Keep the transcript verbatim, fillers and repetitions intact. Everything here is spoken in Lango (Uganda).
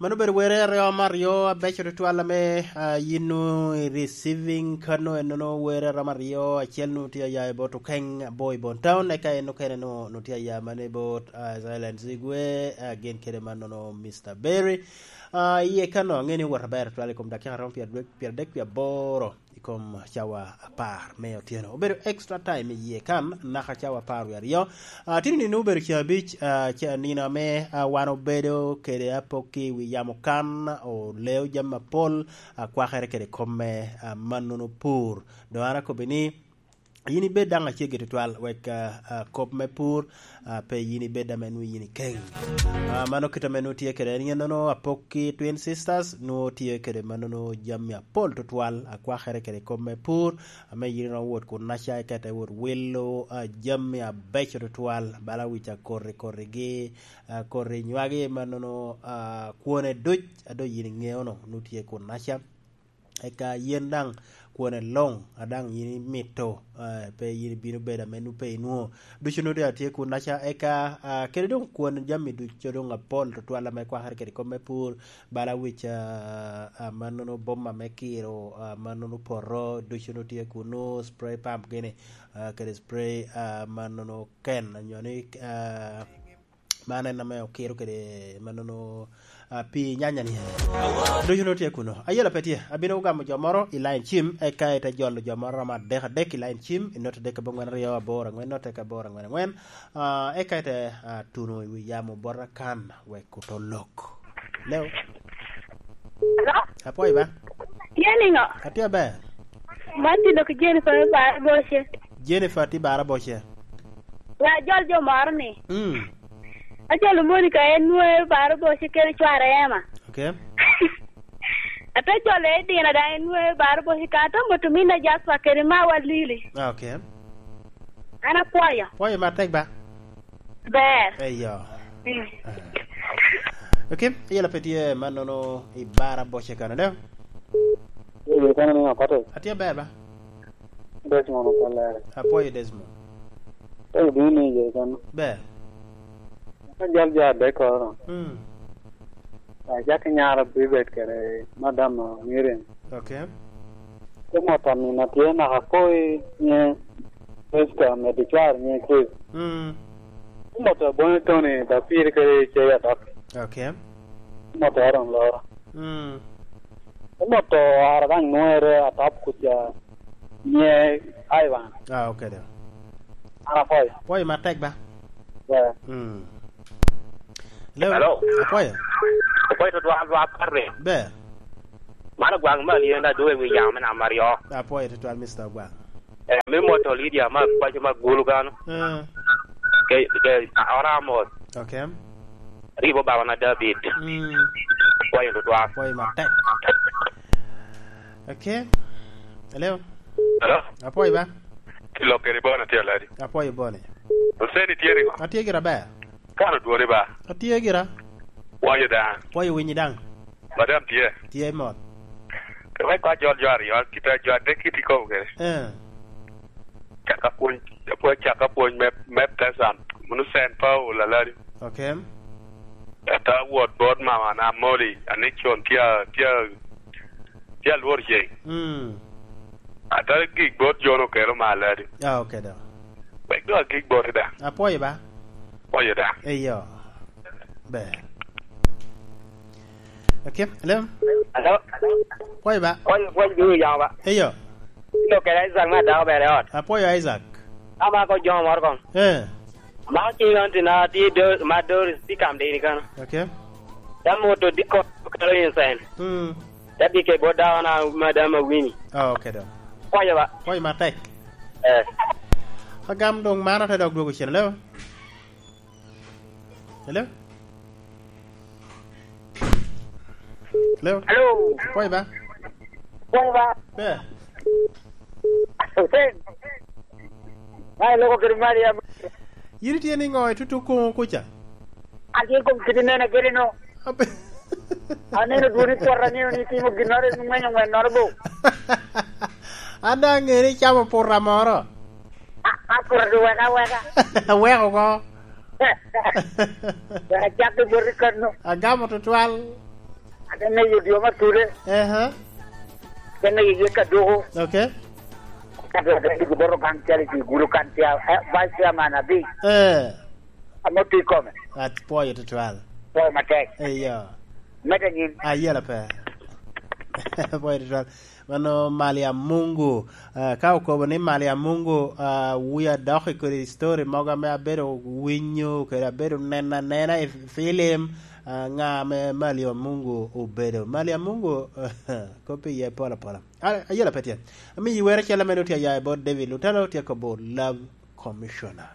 Mano obedo were a romo aryo abeco tutwal ame, ah, yin nwoŋo i receiving kano, en nwoŋo were a romo aryo, acel nwoŋo tye aya i bot Okeng Abor i Bon Town, eka en okene nwoŋo, nwoŋo tye aya mano i bot, ah, Silence Igwe, ah, gin kede man nwoŋo Mister Berry. Ah, iye kano aŋeni owot aber tutwal i kom dakika romo pyeradek, pyeradek pye aboro. I kom cawa apar me otyeno. Obedo extra time i yie kan, naka cawa apar wie aryo. Ah, tino nino obedo ceng abic, ah, ce-, nino ame, ah, wan obedo kede apokki i wi yamo kan, oleo jami apol, ah, kwakere kede kop me, ah, mannono pur. Doŋ an akobbi ni, yin ibed daŋ aceggi tutwal, wek, ah, ah, kop me pur, ah, pe yin ibed ame nwoŋo yin ikeng. Ah, mano kit ame nwoŋo tye kede en, yen nwoŋo apokki Twin Sisters, nwoŋo tye kede mannono jami apol tutwal, akwakere kede kop me pur, ame yin iromo wot kunnaca, eka ite wot wilo, ah, jami abeco tutwal, bala wic akoti kotigi, ah, koti nywagi, mannono, ah, kwone duc, a doŋ yin iŋeo no, nwoŋo tye kunnaca. Eka yen daŋ kwone luŋ, a daŋ yin imito, eh, pe yin ibino bedo ame nwoŋo pe inwoŋo. Ducu nwoŋo doŋ atye kunnaca, eka, ah, kede doŋ kwon jami ducu doŋ apol tutwal ame kwakere kede kop me pur, bala wic, ah, ah, mannono boma me kiro, ah, mannono poto, ducu nwoŋo tye kunu, spray pump gini, ah, kede spray, ah, mannono ken, onyo ni, ah, man en ame okiro kede mannono, ah, pi nyanya ni. Ducu nwoŋo tye kuno. Ayela pe tye. Abino gamo jo moro i line cim, eka ite jolo jo moro romo adek adek i line cim, i note adek aboŋwen aryo aboro aŋwen, note eka aboro aŋwen aŋwen. Ah, eka ite, ah, tuno i wi yamo bota kan, wek oto lok. Leo. Hello? Apwoyo ba? Tye niŋo? Atye aber. Man tye lok Jennifer me Bar Boce. Jennifer tye Bar Boce. Nga jol jo moro ni? Mm. Ajolo Monica en nwoŋo Bar Boce kede cware Emma. Okay. Ate jolo Edina daŋ en nwoŋo Bar Boce ka ate moto minna Jasper kede mawa Lili. Ah, okay. An apwoyo. Pwoyo matek ba? Ber. Eyo. Mm. Ah. Okay, iyela pe tye mannono i Bar Boce kano, ne? Eyo, kano ni akote. Atye aber ba? Desmond Okoler. Apwoyo Desmond. Pe ibino ni iye kano. Ber. Ka jal jo adek oro. Mm. Acakki nyara Bibet kede madam Miriam. Okay. Te moto amina tye naka poi nye Krista, medo cwar nye Krista. Mm. Te moto abonyo Tony, Dapir kede Cei Atop. Okay. Te moto Aaron Loro. Mm. Te moto ara daŋ nwere Atop kuca nye Ivan. Ah, okay, da. An apwoyo. Pwoyo matek ba? Yeah. Mm. Hello? Hello? Apwoyo. Apwoyo tutwal, lwak Patrick. Ber. Mano gwaŋ me Alyenda Adwoŋ i wi yamo me namba aryo. Apwoyo tutwal, Mister Ogwaŋ. Eh, me moto Lydia ma kwaco ma gulu kano. Eh. Ke, ke, ora amos. Okay. Ribo baba na David. Mm. Apwoyo tutwal. Apwoyo matek. Okay. Hello? Hello? Apwoyo ba? Lok kede Bona tye aladi? Apwoyo Bona. Oseni tye nigo? Atye gira ber. Kan odwori ba? Atye gira. Pwoyo daŋ. Pwoyo winyi daŋ. Madam tye? Tye mot. Wek kwa jol jo aryo, kit a jo adek kit ikobo kede. Eh. Caka pwony, pwony, caka pwony me, me Pleasant, munu Saint Paul aladi. Okay. Ata wot bot mama na Molly, a Nixon tye, tye, tye alwor ceng. Mm. Ata gik bot John okelo malo adi. Ah, okay, da. Wek dong agik boti da. Apwoyo ba? Pwoyo da. Eyo. Ber. Okay, hello? Hello? Pwoyo ba? Pwoyo, pwoyo, dulu yamo ba? Eyo. Ilo kede Isaac me adako bere ot. Apwoyo Isaac. Ama ko jo moro kong. Eh. Ma cing an tina tye do, ma Doris tye kam dini kano. Okay. Te moto dikko kelo insane. Mm. Te bike bot dako na madam Awini. Ah, okay, da. Pwoyo ba? Pwoyo matek. Eh. Agam doŋ mano te dok dwogo cen, hello? Hello? Hello? Hello? Pwoyo ba? Pwoyo ba? Ber. Hussein. Ai, loko kede Mariam. Yin itye niŋo i tutu koŋo kuca? Atye i kom kidi nene kede no. Abe- Aneno dwoni twot, aneno ni itimo ginnoro, ing'wenyo ngwen nono bo. An daŋ aŋeo ni icamo pura moro. A, a, pura du weka, weka. Aweko oko. Wek acak i boti kano. Agamo tutwal. Ene yo dyo ma tude. Ehe. Ene ye ka doko. Okay. Ka doko doko doko boro gang cali ti gulu kan tia, eh, vice chairman abi. Eh. Amo ti kome. At pwoyo tutwal. Pwoyo matek. Eyo. Mete nyin. Ayela pe. Pwoyo tutwal. Mano Malia Mungu. Ah, ka okobo ni Malia Mungu, ah, wia dok i kodi story mogo ame abedo winyo, kede abedo neno anena i film, ah, ŋa ame Malia Mungu obedo. Malia Mungu, kop iye pol apola. Ah, ayela pe tye. Ami iwero cel ame nutye aya i bot David Lutalo, tye kobo Love Commissioner.